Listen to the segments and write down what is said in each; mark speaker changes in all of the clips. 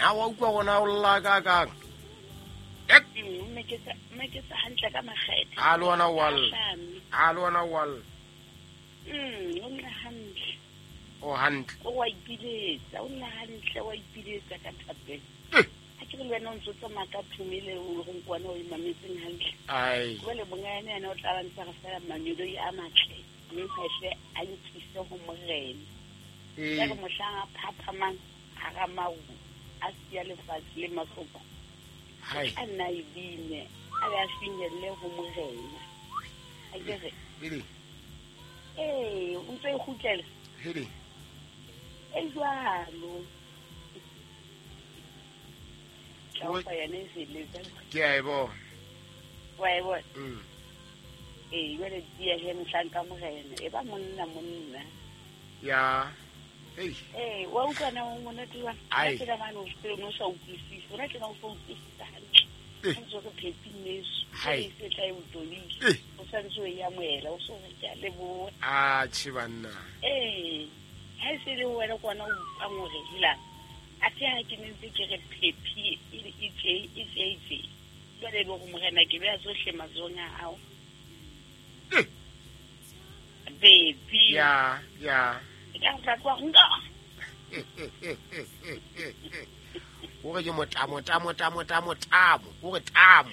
Speaker 1: Na wa utlwa gona o lla ka kang?
Speaker 2: Mmeketsa hantle ka makgethe.
Speaker 1: A le ona wa lla. A le ona wa lla.
Speaker 2: O nna hantle.
Speaker 1: O hantle.
Speaker 2: O wa ipiletsa, o nna hantle, wa ipiletsa ka thapelo. Ha ke re le wena o ntso tsamaya ka thomele o re nkwana o imametseng hantle.
Speaker 1: Ai.
Speaker 2: Jwale monga yena yena o tla ba ntse re fela manyoloi a matle. Mme hahle a nkise ho morena. Ka re mohlang a phaphamang hara maru a siya lefatshe le mahloko. A nna e bine, a ya finyelle ho morena. A ke re. Ee, o ntse e kgutlela.
Speaker 1: Hedi.
Speaker 2: E jwalo. Ka yena e feletsa.
Speaker 1: Ke a e bona.
Speaker 2: Wa e bona? Ee, jwale tiya he mohlanka morena. E ba monna monna.
Speaker 1: Ya. Hey.
Speaker 2: Ee, wa utlwa na o monate jwang?
Speaker 1: Ai.
Speaker 2: Ke mane o se no sa utlwisise. Ona tjena o sa utlwisisa hantle. O ntse re phephi neso.
Speaker 1: Hai.
Speaker 2: E tla e utolile. O sa ntse o e amohela, o so re ke a leboha.
Speaker 1: A tjhe banna.
Speaker 2: Ee. Ha e se le wena kwana o utlwang hore hela. Athe ha ke ne ntse ke re phephi e tje e tje e tje. Jwale e be hore morena ke beha tsohle matsohong a hao. Baby.
Speaker 1: Ya, ya.
Speaker 2: Ka tla kwa nka.
Speaker 1: O re ke motamo tamo tamo tamo tamo. O re tamo.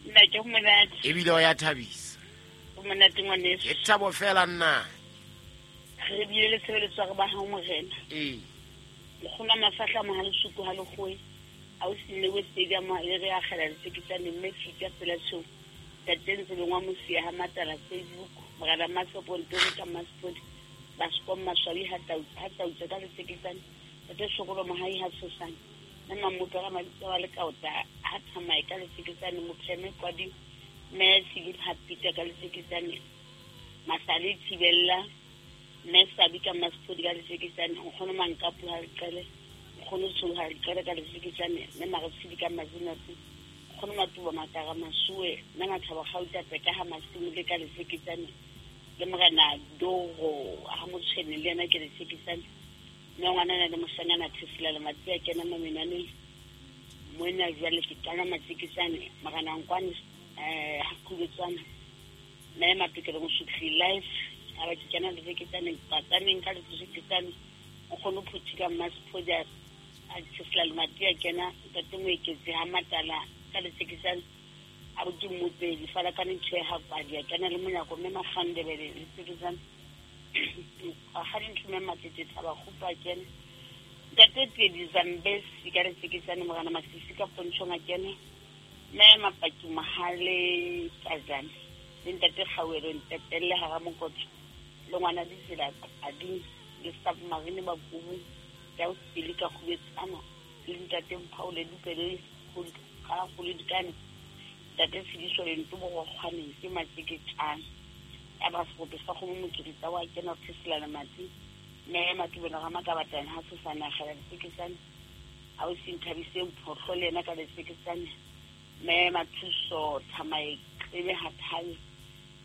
Speaker 2: Nna ke monate.
Speaker 1: Ebile o ya thabisa.
Speaker 2: O monate ngwaneso.
Speaker 1: Ke thabo fela nna.
Speaker 2: Re bile le tshebeletso re ba ha morena.
Speaker 1: Ee.
Speaker 2: Nkgono mafahla mo ha lesuku ha lekgoe. A o sine we stadium le re akgela letseketsane mme fita pela tsho. Tate ntse lengwa mosia ha matala Facebook. Morena Masopo Ntori ka Masipodi. Baskom Maswabi ha tau ka letseketsane. Tate Sokolo Mohai ha tshosane. Mme Mamoto ga Mabitso wa Lekaota ha thamae ka letseketsane. Mopheme Kwadi mme Philip ha Peter ka letseketsane. Masale Thibella mme Sabi ka Masipodi ka letseketsane. Nkgono Mankapu ha leqele. Nkgono Tsholo ha leqele ka letseketsane. Mme Maretshidi ka Mazinatsi. Nkgono Matuba Matara Masuwe mme Mathabo Gauta Peka ha Masimo le ka letseketsane. Le morena Doro ha motshwene le yena ke letseketsane. Mme ngwanana le moshanyana Thesela le Matsi a kena mamenwaneng. Moena jwale ke qala matseketsane. Morena Nkwane ha khubetswana. Mme Matokelo Mosutli life a ba ke kena letseketsane patsaneng ka letseketsane. Nkgono Phuthi ka Masipodi a Thesela le Matsi a kena ntate Moeketsi ha Matala ka letseketsane. A bo ke mmopedi fala ka ntho ya kwadi a kena le monyako mme Makgandebele letseketsane. A ga dintho mme Matete Thaba Kgupa a kena. Ntate Pedi Zambesi ka letseketsane. Morena Masisi ka Pontshong a kena. Mme Mapaki Mohale Kajane le ntate Kgauelo Ntetelle hara Mokotso le ngwana ditsela Ading le submarine ba Kubu ya o sepele ka Kgubetsana le ntate Mphaole Dupele ga go le dikane. Ntate Tshidiso le Ntobo go kgwaneng ke matseketsane. Ya ba serope sa kgomo mokiritsa wa kena Thesela le Matsi. Mme Matubelo ga Makabatane ha tshosane a kgela letseketsane. A o se nthabiseng phohlo le yena ka letseketsane. Mme Mathuso Thamae Qebe ha thabe.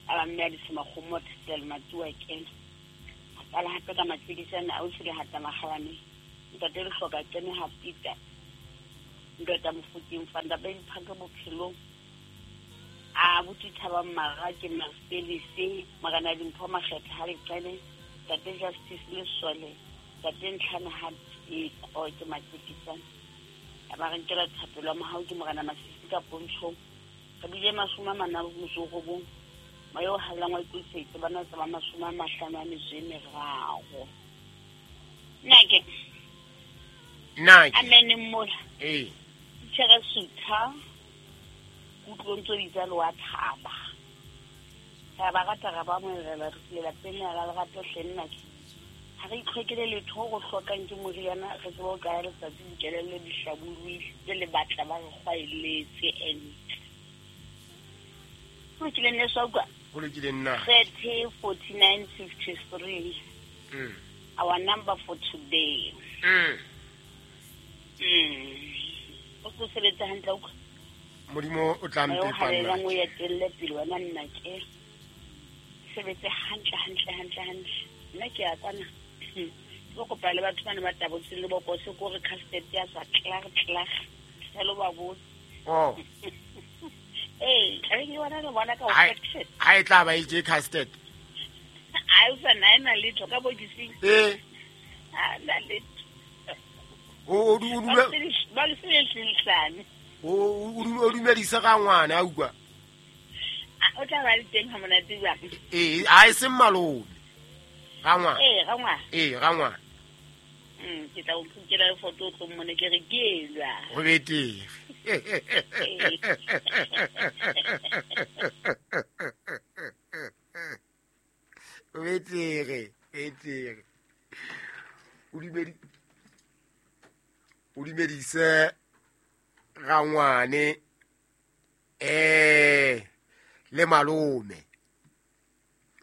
Speaker 2: A ba mme a disema kgomo Thesela le Matsi wa kena. A qala hape ka matseketsane a o se le hata makgalane. Ntate Lehloka kene ha Peter. Ntate Mofokeng Fanda ba iphaka bophelong. A buti thaba mara ke Marcelise morena Dimpho Makgetha ha leqele. Ntate Justice Lesole ntate Ntlhana ha Teko ke matseketsane. A ba re nkela thapelo ya mohau ke morena Masisi ka Pontshong. Re bile 49. Moya o hallang wa ikutlwisitse bana tsa ba 53. Nna ke.
Speaker 1: Nna ke.
Speaker 2: Amen mola.
Speaker 1: Ee.
Speaker 2: Tjhere sutha. Kutlong tso bitsa le wa thaba. Re ba rata re ba molela re tlile lapeng la lerato hle nna ke. Ha re itlhokele letho go hlokang ke moriana re tsebe ho kaya letsatsi dikelello di hlabollohile tse le batla ba re kgwaeletse and ho lokile nne sa utlwa?
Speaker 1: Ho lokile nna.
Speaker 2: 30 49 53. Our number for today. O tlo sebetsa hantle utlwa?
Speaker 1: Modimo o tla
Speaker 2: Moya o
Speaker 1: mpepa nna.
Speaker 2: halalelang o etelle pele wena nna ke. Sebetse hantle hantle hantle hantle. Nna ke ya kwana. Ke Ke kopa le batho bane ba tabotseng le bokose ko re custard ya tswa tlag tlag. Hello ba botse.
Speaker 1: Oh.
Speaker 2: Ee, tlabe ke bona le bona ka
Speaker 1: Ha
Speaker 2: affection.
Speaker 1: ha e tla ba e je custard.
Speaker 2: A o sa na ena letho ka bokising.
Speaker 1: Eh,
Speaker 2: Ha na letho.
Speaker 1: o o
Speaker 2: Ba
Speaker 1: dule
Speaker 2: le sele
Speaker 1: o dumedise ga ngwana a utlwa.
Speaker 2: O tla ba le teng ha monate jwang?
Speaker 1: Ee, ha e seng malome. Ga ngwana.
Speaker 2: Ee, ga ngwana.
Speaker 1: Ee, ga ngwana.
Speaker 2: Ke tla o phukela le foto o tlo mmone ke re ke elwa.
Speaker 1: Go betere. Go betere, betere. O dumedi o dumedise ga ngwane le malome.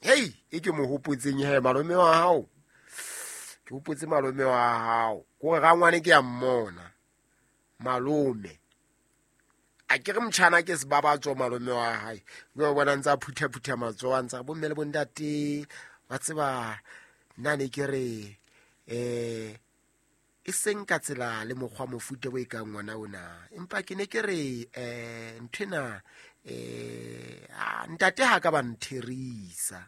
Speaker 1: Hei, e ke mo hopotseng he malome wa hao. Ke hopotse malome wa hao. Kore ga ngwane ke a mmona. Malome. A ke re motjhana ke sebabatso malome wa hae. Ke bona ntse a phutha-phutha matsoho a ntse a bomme le bontate. Wa tseba nna ne ke re e seng ka tsela le mokgwa mofuta o e kang ngwana ona. Empa ke ne ke re nthwena ntate ha ka ba ntherisa.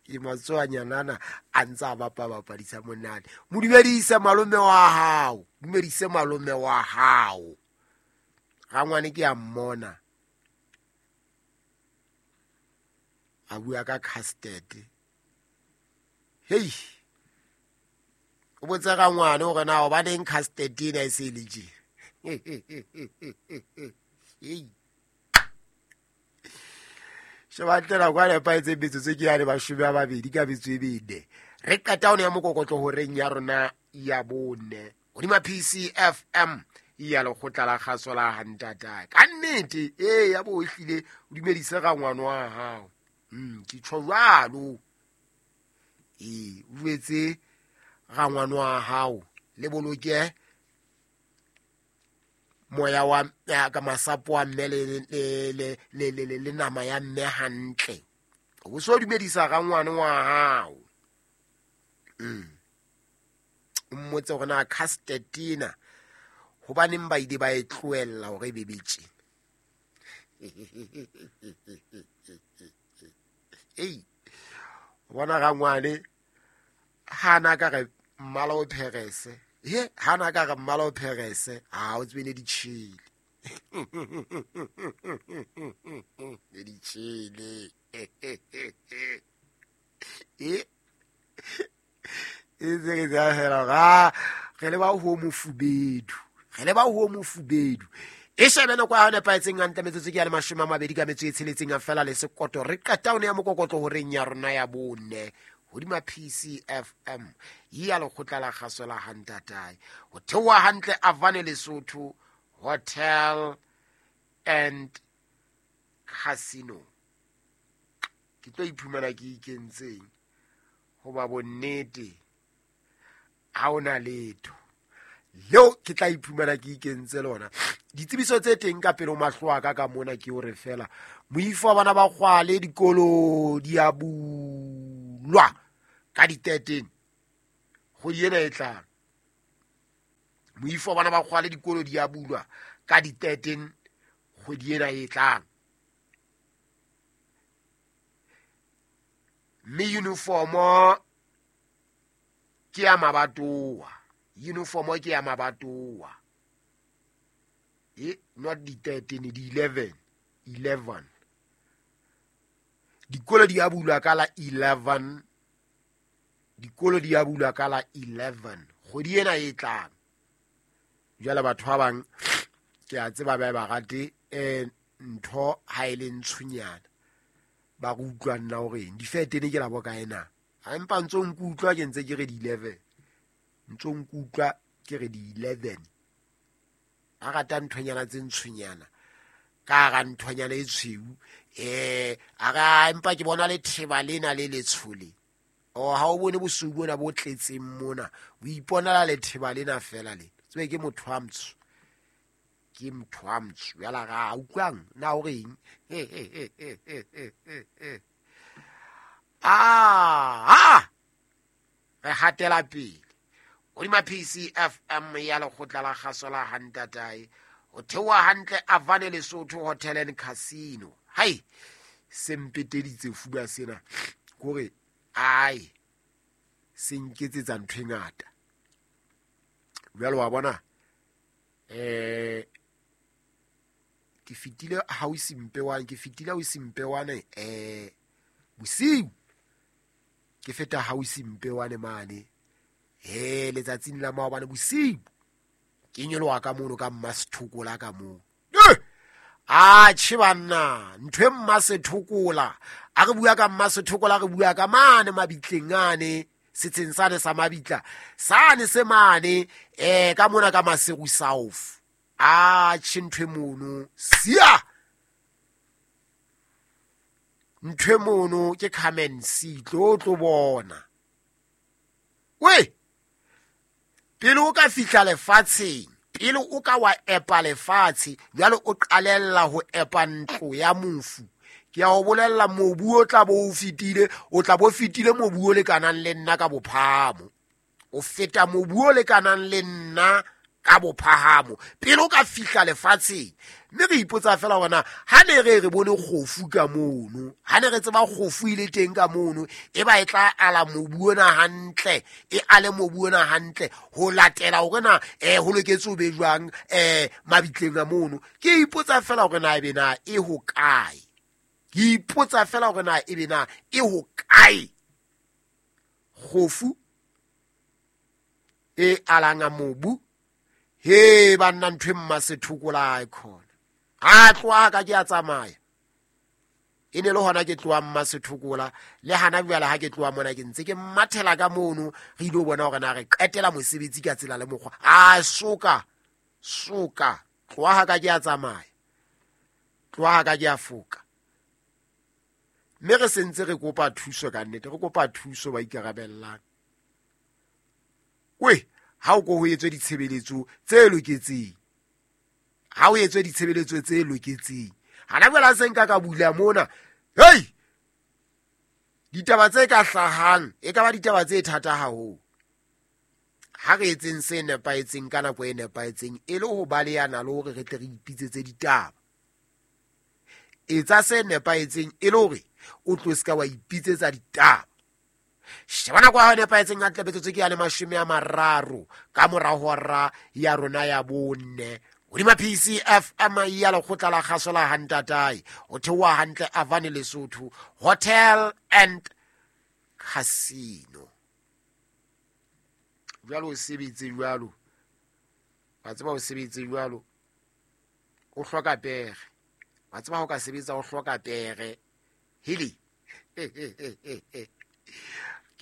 Speaker 1: Ke matsoanyanana a ntse a bapa-bapadisa monate. Mo dumedise malome wa hao. Dumedise malome wa hao. Ga ngwane ke a mmona. A bua ka custard. Hei. O botsa ga ngwane hore na hobaneng custard ena e se le tje. Hei. Sheba tlela kwa nepahetseng metsotso ke yane 20 ka metso e mene. Re qeta ho ya mokokotlo horeng ya rona ya bone. Hodima PCFM ya lekgotla la kgaso la Hantata. Ka nnete ya bo ehlile o dumedise ga ngwana wa hao. Ke tjho jwalo. O etse ga ngwana wa hao le boloke moya wa ka masapo a mme le nama ya mme hantle. O so dumedisa ga ngwana wa hao. O mmotse hore na custard ena hobaneng ba ile ba e tlohella hore e be betše. Ei, bona ga ngwane hana ka re mmala o pherese. He hana ka re mmala o pherese, ha o tsebe ne di tjhele. Ne di tjhele. E tse ke tsa fela ga re le ba ho mofubedu. Re le ba ho mofubedu. E shebe nako ya nepahetseng hantle metsotso ke ya le 26 ka metso e tsheletseng a fela le sekoto. Re qeta ho ya mokokotlo horeng ya rona ya bone. Hodima PCFM ya lekgotla la kgaso la Hantatae. Ho theoha hantle Avane Lesotho Hotel and Casino. Ke tlo iphumana ke ikentseng hoba bonnete ha ona letho leo ke tla iphumana ke ikentse lona. Ditsebiso tse teng ka pele ho mahlo a ka ka mona ke hore fela moifo wa bana ba kgwale dikolo di a bulwa ka di 13 kgwedi ena e tlang. Moifo wa bana ba kgwale dikolo di a bulwa ka di 13 kgwedi ena e tlang. Mme uniformo ke ya mabatowa. Uniformo ke ya mabatowa. Not di 13, di 11. 11. Dikolo di a bulwa ka la 11. Dikolo di a bulwa ka la 11. Kgwedi ena e tlang. Jwale batho ba bang ke a tseba ba ba rate ntho ha e le ntshonyana. Ba re utlwa nna hore eng. Difetene ke la boka ena. Ha empa ntso nkutlwa ke ntse ke re di 11. Ntso nkutlwa ke re di 11. A rata nthonyana tse ntshonyana. Ka ra nthonyana e tshweu. A ra empa ke bona le theba lena le letshole. O ha o bone bosweu bona bo tletseng mona. O iponela le theba lena fela le. Tsebe ke motho wa mtsho. Ke motho wa mtsho. Jwale ga utlwang na o reng? Aa re hatela pele hodima PCFM ya lekgotla la kgaso la hantatae ho theoha hantle Avane Lesotho Hotel and Casino. Hai, se mpeteditse fuba sena kore ai se nketsetsa ntho e ngata. Jwale wa bona ke fetile hausi mpewane, ke fetile hausi mpewane bosiu ke feta hausi mpewane mane he letsatsing la maobane bosiu ke nyoloha ka mono ka mmasethokola ka moo. A tjhe banna, ntho e mmasethokola, a re bua ka mmasethokola, re bua ka mane mabitleng ane, setsheng sane sa mabitla sane se mane ka mona ka Maseru South. A tjhe ntho e mono sia, ntho e mono ke come and see, tlo tlo bona. We pele o ka fihla lefatsheng, pele o ka wa epa lefatshe, jwale o qalella ho epa ntlo ya mofu. Ke a o bolella, mobu o tla bo o fetile, o tla bo fetile mobu o lekanang le nna ka bophahamo. O feta mobu o lekanang le nna ka bophahamo pele o ka fihla lefatsheng. Mme re ipotsa fela hore na ha ne re re bone kgofu ka mono, ha ne re tseba kgofu e le teng ka mono, e ba e tla ala mobu ona hantle, e ale mobu ona hantle ho latela hore na ho loketse ho be jwang mabitleng a mono. Ke ipotsa fela hore na ebe na e ho kae. Ke ipotsa fela hore na ebe na e ho kae kgofu e alanga mobu. He banna, ntho e mmasethokola e khona. A tloha ka ke a tsamaya. E ne le hona ke tlohang mmasethokola, le hana jwale ha ke tloha mona ke ntse ke mathela ka mono, re ilo bona hore na re qetela mosebetsi ka tsela le mokgwa. A soka, soka, tloha ka ke a tsamaya. Tloha ka ke a foka. Mme re sentse re kopa thuso ka nnete, re kopa thuso ba ikarabellang. We ha o ko ho etswe ditshebeletso tse loketseng, ha o etswe ditshebeletso tse loketseng. Hana jwale ha se nka ka bula mona, hei, ditaba tse ka hlahang e ka ba ditaba tse thata haholo. Ha re etseng se nepahetseng ka nako e nepahetseng, e le ho balehana le hore re tle re ipitsetse ditaba. Etsa se nepahetseng e le hore o tlo se ka wa ipitsetsa ditaba. Sheba nako ya hao e nepahetseng hantle, metsotso ke ya le 30 ka mora hora ya rona ya 4. Hodima PCFM ya lekgotla la kgaso la Hantatae, ho theoha hantle Avane Lesotho Hotel and Casino. Jwalo o sebetse jwalo, wa tseba o sebetse jwalo, o hloka pere. Wa tseba ha o ka sebetsa o hloka pere. Hili.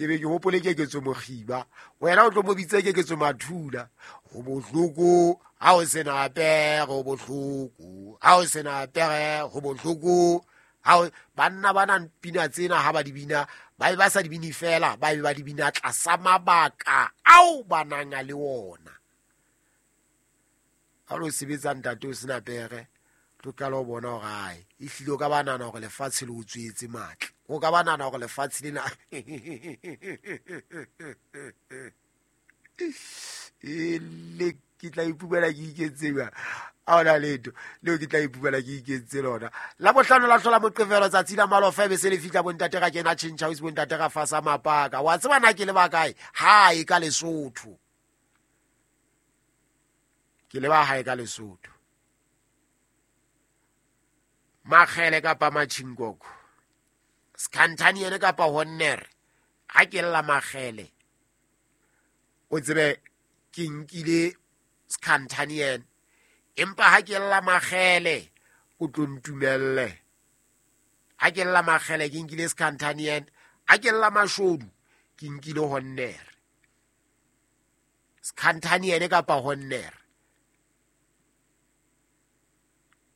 Speaker 1: Ke be ke hopole Keketso Mokgiba, wena o tlo mo bitse Keketso Mathula. Ho bohloko ha o sena pere, ho bohloko ha o sena pere, ho bohloko ha o. Banna ba nang pina tsena ha ba di bina, ba be ba sa di bine fela, ba be ba di bina tlasa mabaka ao ba nang le ona. Ha o sebetsa ntate o sena pere, tlo qala ho bona hore ae, ehlile o ka ba nahana hore lefatshe le o tswetse matla. O ka ba nahana hore lefatshe lena e le ke tla ipumela ke ikentse jwang? Ha hona letho leo ke tla ipumela ke ikentse lona. La bohlano la hlola Moqebelo, tsatsi la malofa e be se le fihla, bontate ra kena tjhentjha house, bontate ra fasa mapaka. Wa tseba na ke leba kae? Hae ka Lesotho. Ke leba hae ka Lesotho. Makgele kapa Matjhinkoko, Skhantaniene kapa Honnere. Ha ke lla Makgele, o tsebe ke nkile Skhantaniene, empa ha ke lla Makgele o tlo ntumelle. Ha ke lla Makgele ke nkile Skhantaniene, ha ke lla Mashodu ke nkile Honnere. Skhantaniene kapa Honnere,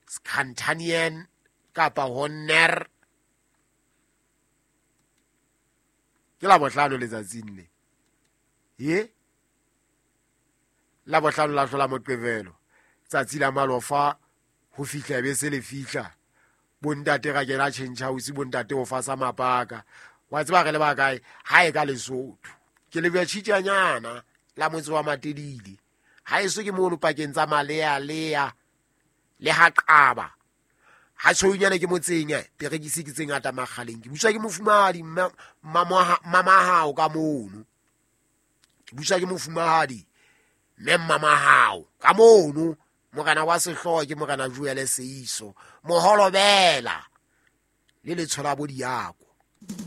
Speaker 1: Skhantaniene kapa Honner. Ke la bohlano letsatsing le. Ye la bohlano la hlola Moqebelo, tsatsi la malofa ho fihla be se le fihla. Bontate ra kena tjhentjha house, bontate ho fasa mapaka. Wa tseba re le ba kae? Ha e ka Lesotho. Ke leboha tjhitjanyana la motse wa Matedile. Ha eso ke mono pakeng tsa Malealea le ha Qaba. Ha tshweunyana ke motseng eh, perekisi ke tse ngata makgaleng. Ke buswa ke mofumahadi mmamahao ka mono. Ke buswa ke mofumahadi mme mmamahao ka mono. Morena wa sehlooho ke Morena Joel Seiso. Moholobela le letshola bo diako.